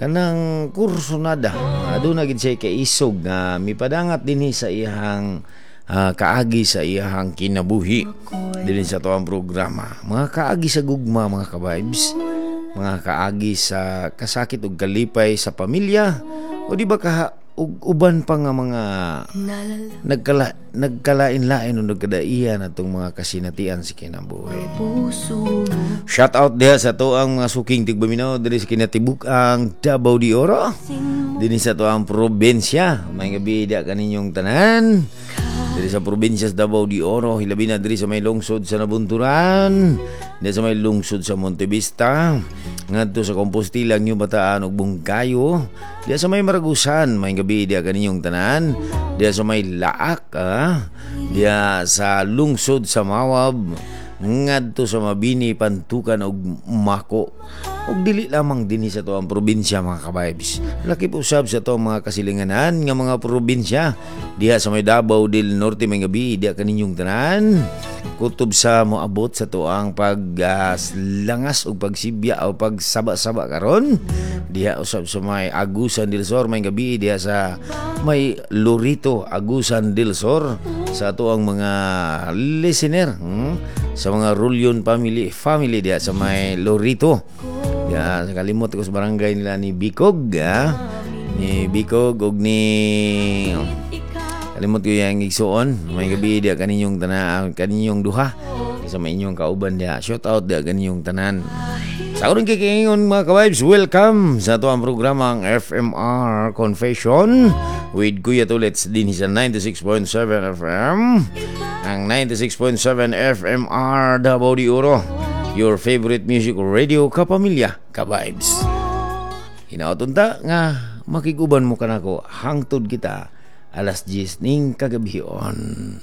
Kanang kursunada, aduna gid siya kaisog nga mipadangat dinhi sa iyang kaagi sa iyang kinabuhi dinhi sa atuang programa. Mga kaagi sa gugma, mga ka-vibes, mga kaagi sa kasakit ug kalipay sa pamilya o di ba ka ug uban pa nga mga nagkalain-lain o nagkadaiyan atong mga kasinatian sa kinabuhi. Shout out diha sa atoang mga suking tigbaminaw diri sa kinatibuk-ang Davao de Oro. Dinhi sa atoang probinsya. Maayong gabii diha kaninyong tanan. Diri sa probinsya sa Davao de Oro, hilabi na diri sa may lungsod sa Nabunturan, diri sa may lungsod sa Montevista, ngadto sa Compostela, New Bataan ug Bungkayo, diha sa may Maragusan, maayong gabii diha kaninyong tanan, diha sa may Laak, diha sa lungsod sa Mawab, ngadto sa Mabini, Pantukan ug Mako. Ug dili lamang dinhi sa atoang probinsya, mga ka-vibes. Lakip usab sa atoang mga kasilinganan nga mga probinsya diha sa may Davao del Norte, maayong gabii diha kaninyong tanan. Kutob sa moabot sa atoang pag langas ug pagsibya o pagsaba-saba karon diha usab sa may Agusan del Sur, maayong gabii diha sa may Lorito, Agusan del Sur, sa atoang mga listener, sa mga Rulion family family diha sa may Lorito. Ya, sa kalimot ko sa barangay nila ni Bicog, ni Bicog ug ni kalimot ko yung igsuon. Maayong gabii diha kaninyong tanan, kaninyong duha. Sa may inyong kauban diha. Shout out diha kaninyong tanan. Sa akong kikingon, mga ka-vibes, welcome sa atoang programa, ang FMR Confession with Kuya Tulits din sa 96.7 FM. Ang 96.7 FMR Davao de Oro. Your favorite music radio, kapamilya, ka-vibes. Hinaot unta nga makiguban mo kanako hangtod kita alas 10 ning kagabhion.